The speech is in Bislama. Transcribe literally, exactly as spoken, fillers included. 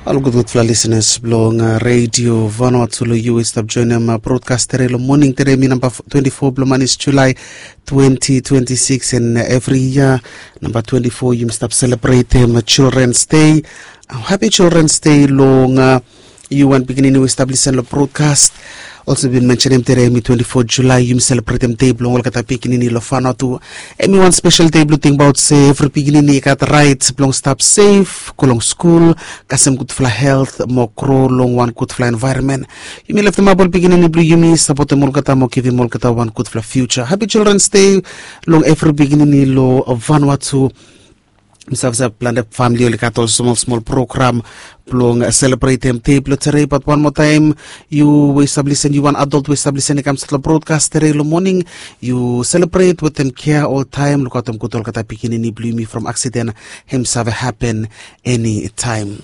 Ol gudgudfala lisenas blong redio Vanuatu lo yu i stap joinim brodkas tere lo moning tere mi namba twenti fo blo manis Julai twenti twenti sikis. En evri yia namba twenti fo yumi stap selebretim Children's Day. Hapi Children's Day long yu wan pikinini we i stap lisen lo brodkas. Olsem bin mensenim tere em i twenti fo Julai yumi selebretim dei blong olgeta pikinini lo Vanuatu. Em i wan spesel dei blong tingbaot se evri pikinini i gat rait blong stap sef, go long skul, kasem gudfala helt mo gro long wan gudfala envaeronmen. Yumi leftemap ol pikinini blong yumi, sapotem olgeta mo givim olgeta wan gudfala fiuja. Hapi Children's Day long evri pikinini lo Vanuatu. Mi save se plante famili oli gat ol smol smol program blong selebretem dei blong tere, bat wan moa taem, yu we i stap lisen, yu wan adult we i stap lisen i kam stap long brodkas tere long moning, yu selebret wetem kea oltaem. Lukaotem gud olgeta pikinini blong yumi from aksiden hem save hapen enitaem.